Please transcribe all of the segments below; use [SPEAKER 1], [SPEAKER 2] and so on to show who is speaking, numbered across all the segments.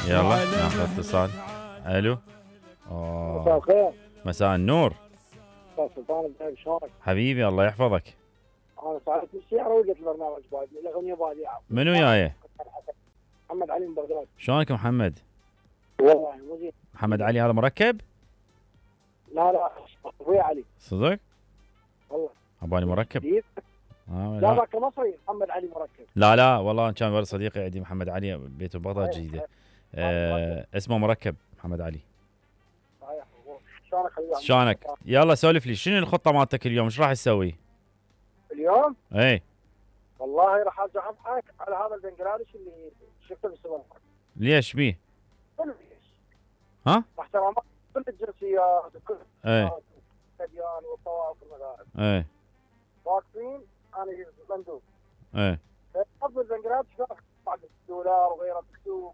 [SPEAKER 1] يلا ناخذ اتصال. الو.
[SPEAKER 2] مساء الخير.
[SPEAKER 1] مساء النور.
[SPEAKER 2] استاذ سلطان ازيك شلونك؟
[SPEAKER 1] حبيبي الله يحفظك.
[SPEAKER 2] انا ساعدت بالسياره ولقيت البرنامج بعد الاغنيه بادية.
[SPEAKER 1] منو جايه؟
[SPEAKER 2] محمد علي من بغداد.
[SPEAKER 1] شلونك محمد؟
[SPEAKER 2] والله مو زين.
[SPEAKER 1] محمد علي هذا مركب؟
[SPEAKER 2] لا اخوي علي.
[SPEAKER 1] صدق؟
[SPEAKER 2] والله.
[SPEAKER 1] اباني مركب؟
[SPEAKER 2] جديد؟
[SPEAKER 1] لا
[SPEAKER 2] لا ذاك مصري محمد علي مركب.
[SPEAKER 1] لا والله كان ولد صديقي عندي محمد علي بيته ببغداد جديده. اسمه مركب محمد علي.
[SPEAKER 2] صحيح. شلونك حبيبي؟
[SPEAKER 1] شلونك؟ يلا سولف لي شنو الخطه مالتك اليوم؟ ايش راح تسوي؟
[SPEAKER 2] اليوم؟
[SPEAKER 1] اي
[SPEAKER 2] والله راح ارجع اضحك على هذا البنجلاديش اللي شفته بالسوبر ماركت.
[SPEAKER 1] ليش بيه؟ ها؟
[SPEAKER 2] احترامات كل الجنسيات وكل
[SPEAKER 1] اي
[SPEAKER 2] الاديان والطوائف والمذاهب.
[SPEAKER 1] اي
[SPEAKER 2] واقفين انا مندوب.
[SPEAKER 1] اي
[SPEAKER 2] افضل بنجلاديش بعد الدولار وغيره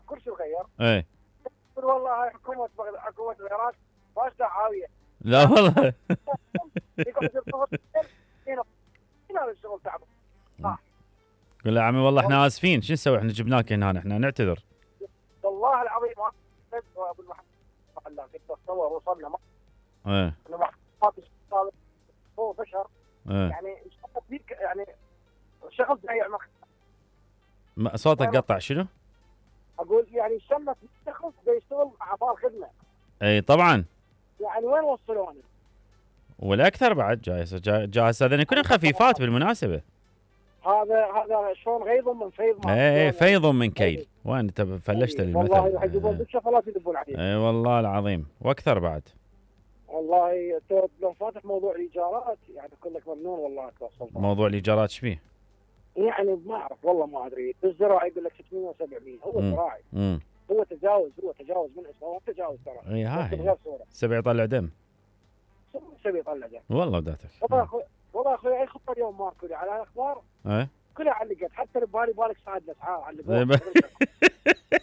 [SPEAKER 2] كل شيء غير.
[SPEAKER 1] اي
[SPEAKER 2] يقول والله هاي حكومه العراق فاشله عاويه.
[SPEAKER 1] لا والله.
[SPEAKER 2] هنا الشغل تعبان.
[SPEAKER 1] قول له يا عمي والله احنا اسفين، شو نسوي؟ احنا جبناك هنا، احنا نعتذر.
[SPEAKER 2] والله العظيم ابو المحل تصور وصلنا
[SPEAKER 1] ايه
[SPEAKER 2] هو بشر.
[SPEAKER 1] ايه
[SPEAKER 2] يعني فيك يعني شغل ضيع
[SPEAKER 1] صوتك قطع. شنو؟
[SPEAKER 2] اقول يعني شمت شخص بيشتغل اعطاه خدمه.
[SPEAKER 1] اي طبعا.
[SPEAKER 2] يعني وين وصلونا؟
[SPEAKER 1] والاكثر بعد جاهز هذين يكونوا خفيفات بالمناسبه.
[SPEAKER 2] هذا شلون غيظ من فيض.
[SPEAKER 1] اي فيض من كيل. وين انت فلشت المثل؟
[SPEAKER 2] والله يحجبون بالشفرات يدبون عليه.
[SPEAKER 1] اي والله العظيم واكثر بعد.
[SPEAKER 2] والله لو فاتح موضوع الايجارات يعني كلك ممنون والله توصل.
[SPEAKER 1] موضوع الايجارات ايش بيه؟
[SPEAKER 2] يعني ما اعرف والله ما ادري. بالزراعي يقول لك 600 و700 هو زراعي. هو تجاوز من اسمه هو تجاوز ترى.
[SPEAKER 1] اي هاي سبع يطلع دم.
[SPEAKER 2] سبع يطلع دم
[SPEAKER 1] والله وداتك.
[SPEAKER 2] والله اخوي اي خطه اليوم ماكو على الاخبار.
[SPEAKER 1] ايه
[SPEAKER 2] كلها علقت حتى ببالي بالك صعد الاسعار علقوها.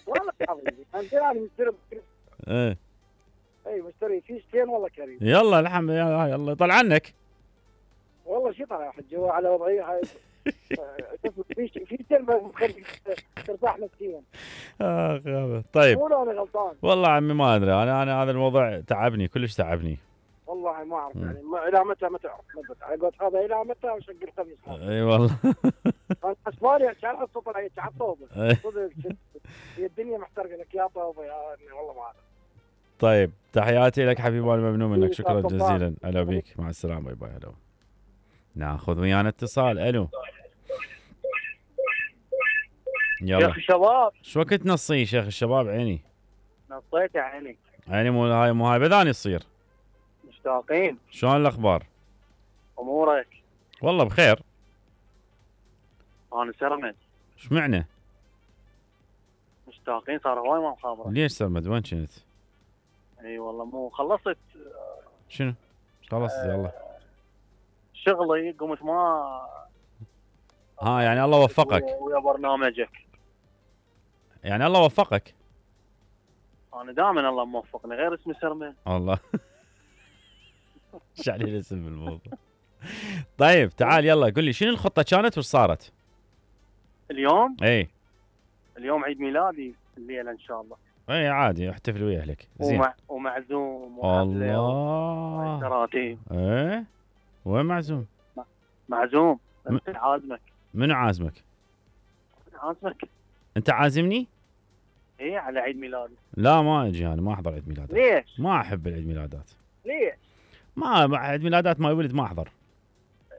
[SPEAKER 2] والله عظيم انا مشتري.
[SPEAKER 1] ايه
[SPEAKER 2] اي مشتري فيشتين والله كريم.
[SPEAKER 1] يلا الحمد لله. يلا طلع عنك.
[SPEAKER 2] والله شي طلع يا حج هو على وضعيه هاي. فيشتين مخليك ترتاح نفسيا.
[SPEAKER 1] طيب
[SPEAKER 2] قولوا انا غلطان.
[SPEAKER 1] والله عمي ما ادري، انا هذا الموضوع تعبني كلش تعبني.
[SPEAKER 2] والله ما اعرف يعني الى متى ما تعرف. قلت هذا الى متى وشق الخميس.
[SPEAKER 1] اي والله.
[SPEAKER 2] انا اسبانيا كان احط طلع على طوبه. صدق هي الدنيا محترقه لك يا طوبه يا والله ما اعرف.
[SPEAKER 1] طيب تحياتي لك حبيبي، انا ممنون منك، شكرا جزيلا. هلا بيك، مع السلامه، باي باي. هلا. ناخذ ويانا اتصال. الو. يلا
[SPEAKER 2] شيخ الشباب.
[SPEAKER 1] شو وقت نصي شيخ الشباب؟ عيني
[SPEAKER 2] نصيت يا عيني.
[SPEAKER 1] عيني مو هاي بذاني تصير.
[SPEAKER 2] مشتاقين.
[SPEAKER 1] شلون الاخبار؟
[SPEAKER 2] امورك؟
[SPEAKER 1] والله بخير.
[SPEAKER 2] انا سرمد.
[SPEAKER 1] ايش معنى؟
[SPEAKER 2] مشتاقين صار هواي ما مخابره.
[SPEAKER 1] ليش سرمد؟ وين كنت؟
[SPEAKER 2] اي والله مو خلصت.
[SPEAKER 1] شنو؟ خلصت يلا.
[SPEAKER 2] شغلي قمت ما.
[SPEAKER 1] يعني الله وفقك.
[SPEAKER 2] ويا برنامجك.
[SPEAKER 1] يعني الله وفقك.
[SPEAKER 2] انا دائما الله موفقني غير اسمي سرمد.
[SPEAKER 1] والله. ايش عليه الاسم بالموضوع؟ طيب تعال يلا قل لي شنو الخطه كانت وش صارت؟
[SPEAKER 2] اليوم؟
[SPEAKER 1] اي
[SPEAKER 2] اليوم عيد ميلادي الليله ان شاء الله.
[SPEAKER 1] اي عادي احتفل ويا اهلك. زين.
[SPEAKER 2] ومعزوم.
[SPEAKER 1] الله.
[SPEAKER 2] تراتيب.
[SPEAKER 1] ايه وين معزوم؟
[SPEAKER 2] معزوم. انت عازمك.
[SPEAKER 1] منو عازمك؟
[SPEAKER 2] عازمك.
[SPEAKER 1] انت عازمني؟
[SPEAKER 2] ايه على عيد ميلادي.
[SPEAKER 1] لا ما اجي، انا ما احضر عيد ميلادات.
[SPEAKER 2] ليش؟
[SPEAKER 1] ما احب العيد ميلادات.
[SPEAKER 2] ليش؟
[SPEAKER 1] ما عيد ميلادات ما ولد ما احضر.